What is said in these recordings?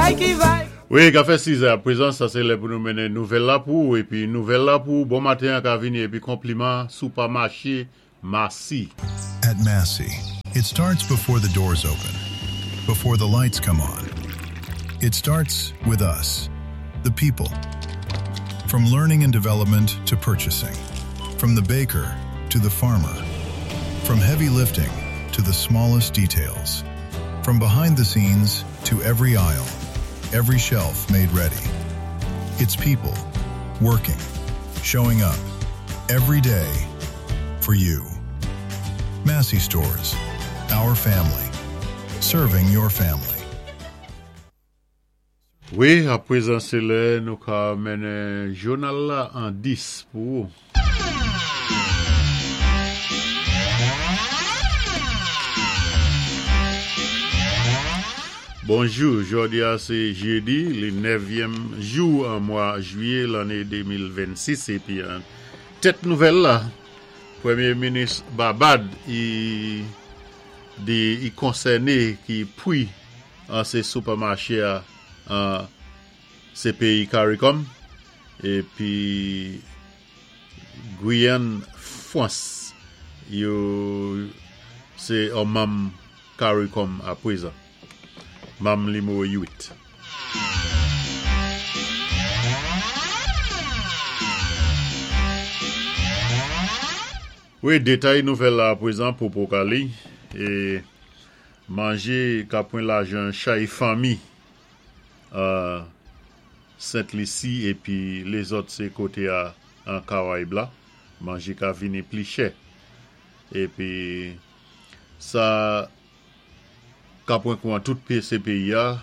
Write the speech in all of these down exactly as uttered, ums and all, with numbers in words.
Bagay ki vay. Wi, ka fè sis è aprezan, sa sé lè pou nou mennen nouvèl la pou épi nouvèl la pou bon maten ka vini épi konpliman sipèmaché Massy. At Massy, it starts before the doors open, before the lights come on. It starts with us, the people. From learning and development to purchasing, from the baker to the farmer, from heavy lifting to the smallest details, from behind the scenes to every aisle, every shelf made ready. It's people working, showing up every day for you. Massy Stores, our family, serving your family. Wi, aprezan sé lè nou ka mennen jounal la an dis pou ou. Bonjou, jòdi a sé jédi, lé nèvyèm jou an mwa jwiyé lanné de mil vennsis épi an tèt nouvèl la, Pwémyé minis Babad i di i konsèné ki pri an sé sipèmaché a an sé péyi CARICOM épi Guyane Fwans yo sé an manm CARICOM aprezan. Manm nimewo uit. Wi, détay nouvèl la aprezan pou Pokali é manjé ka pwan lajan chay fanmi euh, Sent Lisi épi lézòt sé koté a an Karayib la, manjé ka vini pli chè. Épi sa ka pwan kou an tout sé péyi a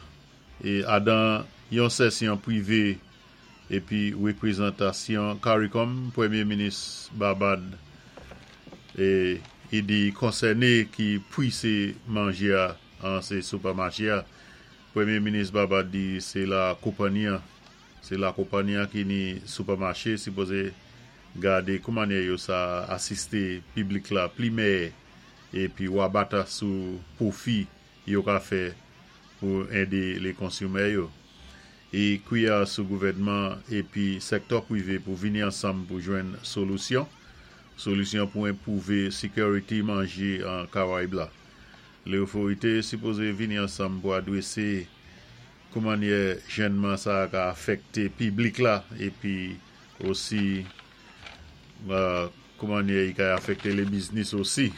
é adan yon sésyon pwivé épi wépwézantasyon CARICOM, Pwémyé minis Babad é i di konsèné ki pri sé manjé a an sé sipèmaché a. Pwémyé minis Babad di sé la konpanyi sé la konpanyi ki ni sipèmaché sipozé gadé kouman yo sa asisté piblik la pli mèyè épi wabata sou pwofi yo ka fè pou édé lé konsonmatè yo. É kwiyé sou gouvèdman épi sèktè pwivé pou vini ansanm pou jwenn solisyon solisyon pou enpwouvé sékirité manjé an Karayib la. Lé otorité sipozé vini ansanm pou adwésé kouman jènman sa ka afèkté piblik la épi osi euh, kouman i ka afèkté lé biznis osi.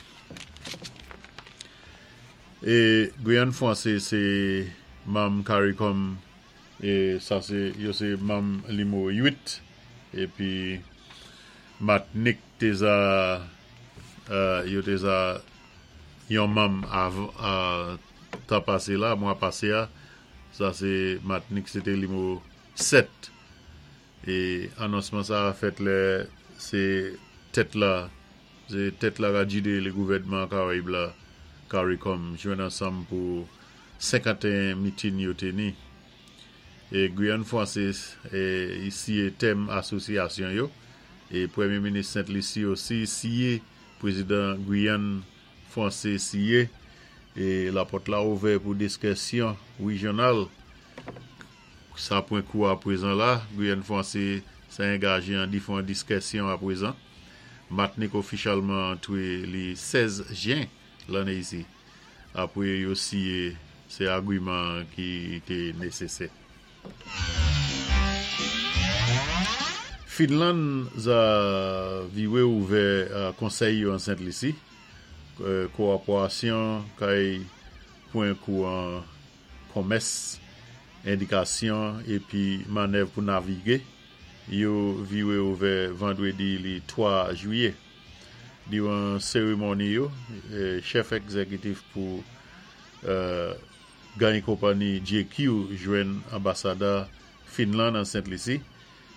É Guyane Fwansé sé manm CARICOM é sa sé yo sé manm nimewo uit épi Matnik té za euh, yo té za yon manm av, euh, tan pasé la, mwa pasé a, sa sé Matnik sé té nimewo sèt é anonsman sa a fèt lè sé tèt la sé tèt la ka djidé lé gouvèdman Karayib la CARICOM jwenn ansanm pou senkanteyen mitin yo té ni. É Guyane Fwansé é i siyé tèm asosyasyon yo é Pwémyé minis Sent Lisi osi siyé, pwézidan Guyane Fwansé siyé é la pòt la ouvè pou diskisyon wéjyonal. Sa pwan kou aprezan la, Guyane Fwansé sa angajé an diféwan diskisyon aprezan. Matnik ofisyèlman antwé lé sèz jen lanné isi. Apwé yo siyé sé agwiman ki té nésésè. Finland za viwé ouvè euh, konsèy yo an Sent Lisi. Euh, kowopérasyon kay pwan kou an komès, édikasyon épi mannèv pou navigé. Yo viwé ouvè vandwédi lé twa jwiyé. Diwan sérémoni yo, euh, chèf égzékitif pou euh, gany konpanyi J Q jwenn anbasadè Finland an Sent Lisi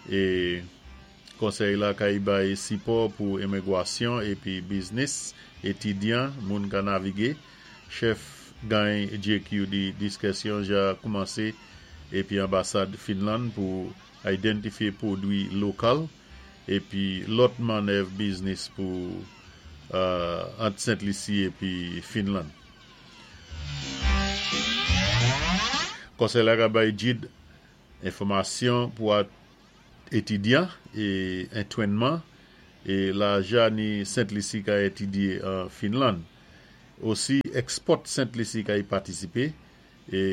é konsèy la kay bay sipò pou imigwasyon épi biznis, étidyan, moun ka navigé. Chèf gany J Q di diskisyon ja koumansé épi anbasad Finland pou idantifyé pwodwi lokal épi lòt mannèv biznis pou euh, ant Sent Lisi épi Finland. Konsèy la ka bay gid enfòmasyon pou étidyan é antwénman é lajan ni Sent Lisi ka étidyé an Finland. Osi export Sent Lisi ka y patisipé é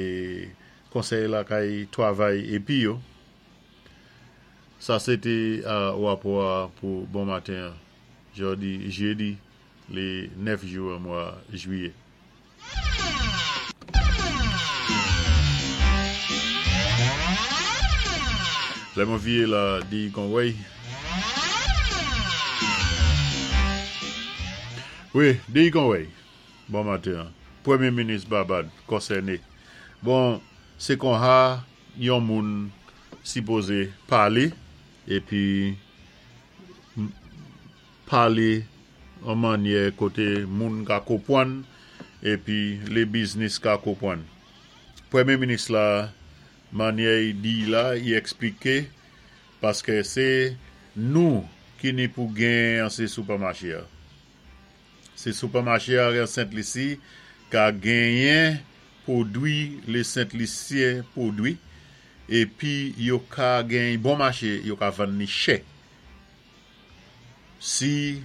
konsèy la ka y twavay épi yo. Sa sé té wapò pou bon maten jòdi jédi lé nèf jou an mwa jwiyé. Lè mwen vié la di Conway. Wi, di Conway. Bon maten. Pwémyé minis Babad konsèné. Bon, sé konsa yon moun sipozé palé épi palé an mannyè koté moun ka konpwann épi lé biznis ka konpwann. Pwémyé minis la mannyè i di la, i ekspliké paské sé nou ki ni pou genyen an sé sipèmaché a. Sé sipèmaché a an Sent Lisi ka genyen pwodwi lé Sent Lisyen pwodwi épi yo ka genyen bon maché, yo ka vann ni chè. Si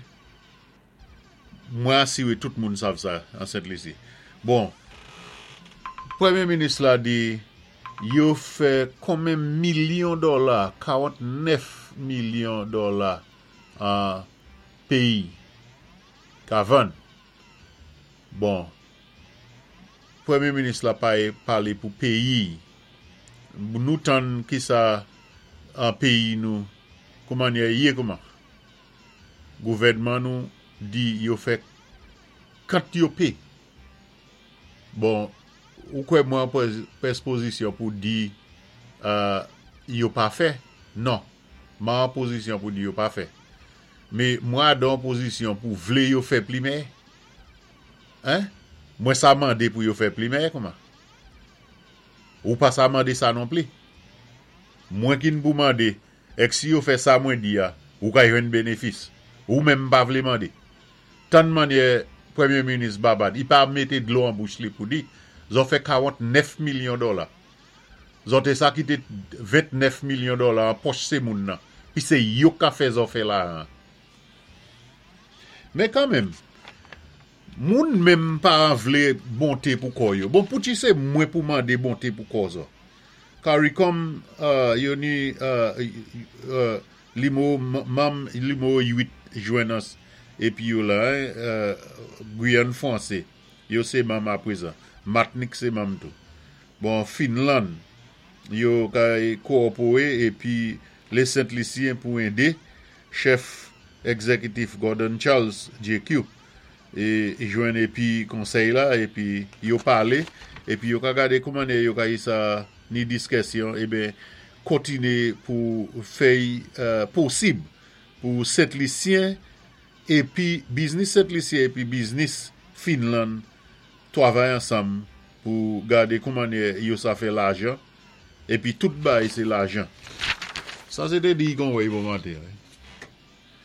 mwen asiwé tout moun sav sa an Sent Lisi. Bon, pwémyé minis la di yo fè konmen milyon dola, karantnèf milyon dola an péyi ka vann. Bon, pwémyé minis la pa palé pou péyi. Nou tann ki sa an péyi nou, kouman yé kouman. Gouvèdman nou di yo fè kant yo pé. Bon, ou kwè mwen an pozisyon pou di yo pa fè? Non, mwen an pozisyon pou di yo pa fè. Mé mwen an pozisyon pou vlé yo fè pli mèyè. Hein? Mwen sa mandé pou yo fè pli mèyè kouman? Ou pa sa mandé sa non pli? Mwen ki pou mandé, èk si yo fè sa mwen di ya, ou ka jwenn bénéfis. Ou menm pa vlé mandé. Tann mannyè Pwémyé minis Babad, i pa mété dlo an bouch li pou di, zòt fè karantnèf milyon dola. Zòt té sa ki té ventnèf milyon dola an pòch sé moun nan. Pi sé yo ka fè zòt fè la. Mé kanmenm, moun menm pa vlé bonté pou kò yo. Bon, pouti sé mwen pou mandé bonté pou kò zòt. CARICOM, yo ni limo, manm limo uit jwenn épi yo la, Guyane Fwansé, yo sé manm aprezan. Matnik sé manm tou. Bon, Finland, yo kay kowopowé épi lé Sent Lisyen pou édé chèf egzékitif Gordon Charles J Q é jwenn épi konsèy la épi yo palé épi yo ka gadé kouman yo ka sa ni diskisyon eben kontiné pou fè posib pou Sent Lisyen épi biznis Sent Lisyen épi biznis Finland twavay ansanm pou gadé kouman yo sa fè lajan épi tout bay sé lajan. Sa sé té di kon wè bon maten.